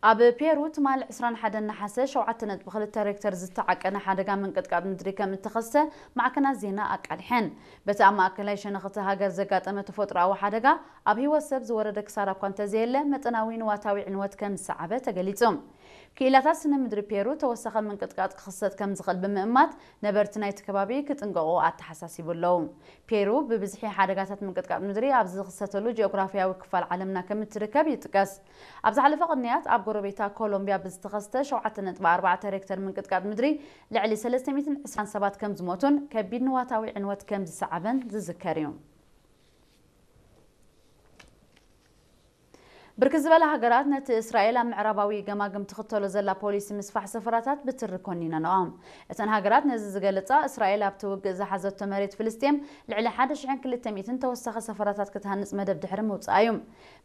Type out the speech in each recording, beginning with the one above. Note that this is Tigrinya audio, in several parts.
ኣብ ፔሩ ትማሊ ዕስራን ሓደን ነሓሰ ሸውዓተ ነጥቢ ክልተ ሬክተር ዝተዓቀነ ሓደጋ ምንቅጥቃጥ ምድሪ ከም እተኸስተ ማዕከናት ዜና ኣቃሊሐን። በቲ ኣብ ማእከላይ ሸነኽ እታ ሃገር ዘጋጠመ ተፈጥሮኣዊ ሓደጋ ኣብ ህይወት ሰብ ዝወረደ ክሳራ እኳ እንተዘየለ፣ መጠናዊ ንዋታዊ ዕንወት ከም ዝሰዓበ ተገሊጹ። ክኢላታት ስነ ምድሪ ፔሩ ተወሳኺ ምንቅጥቃጥ ክኽሰት ከም ዝኽእል ብምእማት፣ ነበርቲ ናይቲ ከባቢ ክጥንቀቑ ኣተሓሳሲቡ ኣለዉ። ፔሩ ብብዝሒ ሓደጋታት ምንቅጥቃጥ ምድሪ ኣብ ዝኽሰተሉ ጂኦግራፊያዊ ክፋል ዓለምና ከም እትርከብ ይጥቀስ። ኣብ ዝሓለፈ ቅንያት ኣብ ጎረቤታ ኮሎምቢያ ብዝተኸስተ ሸውዓተ ነጥቢ ኣርባዕተ ሬክተር ምንቅጥቃጥ ምድሪ ልዕሊ ሰለስተ ሚእትን ዕስራን ሰባት ከም ዝሞቱን ከቢድ ንዋታዊ ዕንወት ከም ዝሰዓበን ዝዝከር እዩ። ብርክት ዝበላ ሃገራት ነቲ እስራኤል ኣብ ምዕራባዊ ገማግም ትኽተሎ ዘላ ፖሊሲ ምስፋሕ ሰፈራታት ብትሪ ኮኒነንኦ። እተን ሃገራት ነዚ ዝገለጻ፣ እስራኤል ኣብቲ ውግእ ዝሓዘቶ መሬት ፍልስጤም ልዕሊ ሓደ ሽሕን ክልተ ሚእትን ተወሳኺ ሰፈራታት ክትሃንጽ መደብ ድሕሪ ምውጻኣ እዩ።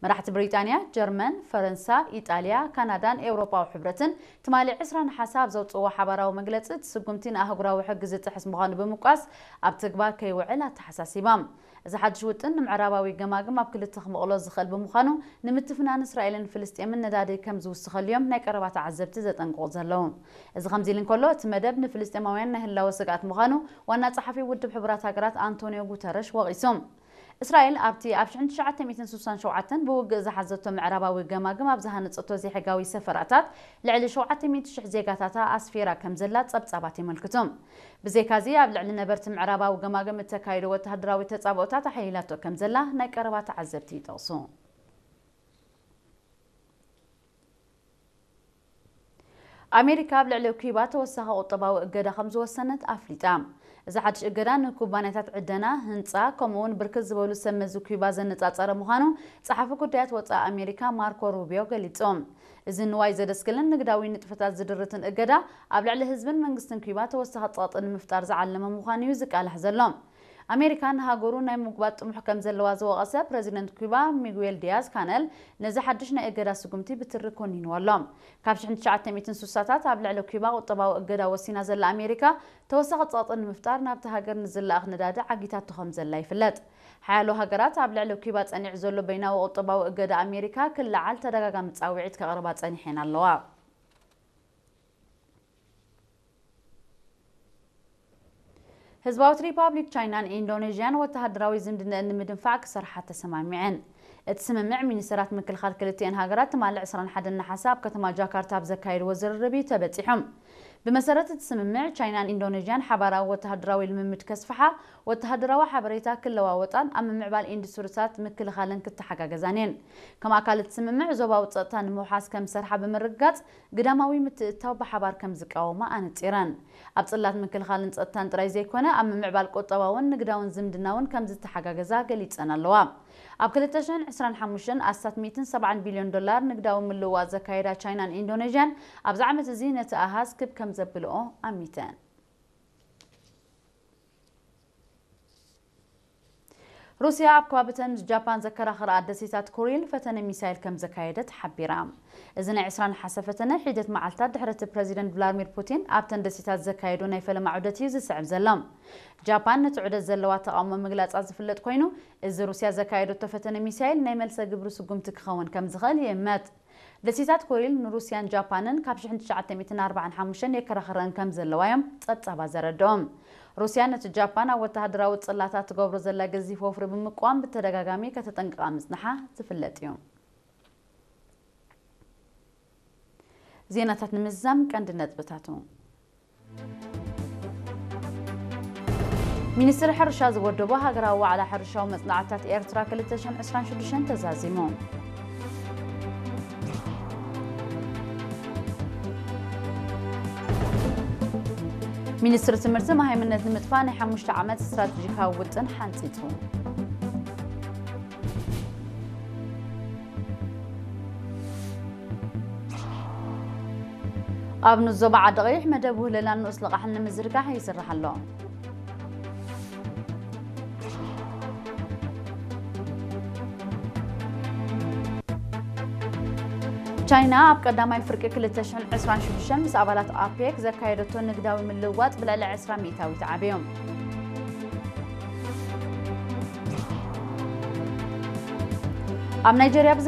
መራሕቲ ብሪጣንያ፣ ጀርመን፣ ፈረንሳ፣ ኢጣልያ፣ ካናዳን ኤውሮጳዊ ሕብረትን ትማሊ ዕስራ ነሓሰ ኣብ ዘውጽእዎ ሓባራዊ መግለጺ፣ እቲ ስጉምቲ ንኣህጉራዊ ሕጊ ዝጥሕስ ምዃኑ ብምቋስ ኣብ ተግባር ከይውዕል ኣተሓሳሲቦም። እዚ ሓድሽ ውጥን ንምዕራባዊ ገማግም ኣብ ክልተ ክመቕሎ ዝኽእል ብምዃኑ፣ ንምትፍናን እስራኤልን ፍልስጤምን ነዳዲ ከም ዝውስኸሉ እዮም ናይ ቀረባ ተዓዘብቲ ዘጠንቅቑ ዘለዉ። እዚ ከምዚ ኢሉ እንከሎ፣ እቲ መደብ ንፍልስጤማውያን ናይ ህላወ ስግኣት ምዃኑ ዋና ጸሓፊ ውድብ ሕቡራት ሃገራት ኣንቶኒዮ ጉተረሽ ወቒሱ። እስራኤል ኣብቲ ኣብ ሽሕን ትሽዓተ ሚእትን ስሳን ሸውዓተን ብውግእ ዝሓዘቶ ምዕራባዊ ገማግም ኣብ ዝሃነጸቶ ዘይሕጋዊ ሰፈራታት ልዕሊ ሸውዓተ ሚእቲ ሽሕ ዜጋታታ ኣስፊራ ከም ዘላ ጸብጻባት የመልክቱ። ብዘይካዚ ኣብ ልዕሊ ነበርቲ ምዕራባዊ ገማግም እተካይዶ ወተሃደራዊ ተጻብኦታት ኣሐይላቶ ከም ዘላ ናይ ቀረባ ተዓዘብቲ ይጠቕሱ። ኣሜሪካ ኣብ ልዕሊ ኩባ ተወሳኺ ቁጠባዊ እገዳ ከም ዝወሰነት ኣፍሊጣ። እዚ ሓድሽ እገዳ ንኩባንያታት ዕደና፣ ህንጻ፣ ከምኡ እውን ብርክት ዝበሉ ሰብ መዚ ኩባ ዘነጻጸረ ምዃኑ ጸሓፊ ጉዳያት ወጻኢ ኣሜሪካ ማርኮ ሩቢዮ ገሊጹ። እዚ ንዋይ ዘደስክልን ንግዳዊ ንጥፈታት ዝድርትን እገዳ ኣብ ልዕሊ ህዝብን መንግስትን ኩባ ተወሳኺ ጸቕጢ ንምፍጣር ዝዓለመ ምዃኑ እዩ ዝቃላሕ ዘሎ። ኣሜሪካ ንሃገሩ ናይ ምጉባጥ ጥሙሕ ከም ዘለዋ ዝወቐሰ ፕረዚደንት ኩባ ሚጉዌል ዲያዝ ካነል ነዚ ሓድሽ ናይ እገዳ ስጉምቲ ብትሪ ኮኒንዎ ኣሎ። ካብ ሽሕን ትሽዓተ ሚእትን ስሳታት ኣብ ልዕሊ ኩባ ቁጠባዊ እገዳ ወሲና ዘላ ኣሜሪካ፣ ተወሳኺ ጸቕጢ ንምፍጣር ናብቲ ሃገር ንዝለኣኽ ነዳዲ ዓጊታቶ ከም ዘላ ይፍለጥ። ሓያሎ ሃገራት ኣብ ልዕሊ ኩባ ጸኒዑ ዘሎ በይናዊ ቁጠባዊ እገዳ ኣሜሪካ ክለዓል ተደጋጋሚ ጻውዒት ከቕርባ ጸኒሐን ኣለዋ። ህዝባዊት ሪፓብሊክ ቻይናን ኢንዶኔዥያን ወተሃደራዊ ዝምድነአን ንምድንፋዕ ክሰርሓ ተሰማሚዐን። እቲ ስምምዕ ሚኒስተራት ምክልኻል ክልቲኤን ሃገራት ትማሊ ዕስራን ሓደን ነሓሰ ኣብ ከተማ ጃካርታ ኣብ ዘካየድዎ ዝርርብ እዩ ተበጺሖም። ብመሰረት እቲ ስምምዕ፣ ቻይናን ኢንዶኔዥያን ሓባራዊ ወተሃደራዊ ልምምድ ከስፍሓ፣ ወተሃደራዊ ሓበሬታ ክለዋወጣን ኣብ ምምዕባል ኢንዱስትሪታት ምክልኻልን ክተሓጋገዛን እየን። ከም ኣካል እቲ ስምምዕ፣ ዞባዊ ጸጥታ ንምውሓስ ከም ዝሰርሓ ብምርግጋጽ፣ ግዳማዊ ምትእትታው ብሓባር ከም ዝቃወማ ኣነጺረን። ኣብ ጽላት ምክልኻልን ጸጥታን ጥራይ ዘይኮነ፣ ኣብ ምምዕባል ቁጠባውን ንግዳውን ዝምድና እውን ከም ዝተሓጋገዛ ገሊጸን ኣለዋ። ኣብ ክልተ ሽሕን ዕስራን ሓሙሽተን ኣስታት ሚእትን ሰብዓን ቢልዮን ዶላር ንግዳዊ ምልውዋጥ ዘካየዳ ቻይናን ኢንዶኔዥያን፣ ኣብዚ ዓመት እዚ ነቲ ኣሃዝ ክብ ከም ዘብልኦ ኣሚተን። ሩስያ ኣብ ከባቢተን ምስ ጃፓን ዘከራኽራ ደሴታት ኩሪል ፈተነ ሚሳይል ከም ዘካየደት ሓቢራ። እዚ ናይ ዕስራ ነሓሰ ፈተነ ሒደት መዓልታት ድሕሪ እቲ ፕረዚደንት ቭላድሚር ፑቲን ኣብተን ደሴታት ዘካየዶ ናይ ፈለማ ዑደት እዩ ዝስዕብ ዘሎ። ጃፓን ነቲ ዑደት ዘለዋ ተቓውሞ ምግላጻ ዝፍለጥ ኮይኑ፣ እዚ ሩስያ ዘካየደቶ ፈተነ ሚሳይል ናይ መልሰ ግብሪ ስጉምቲ ክኸውን ከም ዝኽእል ይእመት። ደሴታት ኮሪል ንሩስያን ጃፓንን ካብ ሽሕን ትሽዓተ ሚእትን ኣርባዓን ሓሙሽተን የከራኽረን ከም ዘለዋ እዮም ጸብጻባት ዘረድኦም። ሩስያ ነቲ ጃፓን ኣብ ወተሃደራዊ ጽላታት ትገብሮ ዘላ ገዚፍ ወፍሪ ብምቅዋም ብተደጋጋሚ ከተጠንቅቓ ምጽንሓ ዝፍለጥ እዩ። ዜናታት ንምዝዛም ቀንዲ ነጥብታቱ። ሚኒስትሪ ሕርሻ ዝወደቦ ሃገራዊ ዋዕላ ሕርሻዊ መጽናዕትታት ኤርትራ ክልተ ሽሕን ዕስራን ሽዱሽተን ተዛዚሙ። ሚኒስትሪ ትምህርቲ፣ መሃይምነት ንምጥፋእ ናይ ሓሙሽተ ዓመት ስትራቴጂካዊ ውጥን ሓንጺጹ። ኣብ ንኡስ ዞባ ዓዲ ቀይሕ መደብ ውህለላን ንኡስ ልቓሕን ንምዝርጋሕ ይስራሕ ኣሎ። ቻይና ኣብ ቀዳማይ ፍርቂ ክልተ ሽሕን ዕስራን ሽዱሽተን ምስ ኣባላት ኣፔክ ዘካየደቶ ንግዳዊ ምልውዋጥ ብልዕሊ ዕስራ ሚእታዊት ዓብዩ። ኣብ ናይጀርያ ብዘ-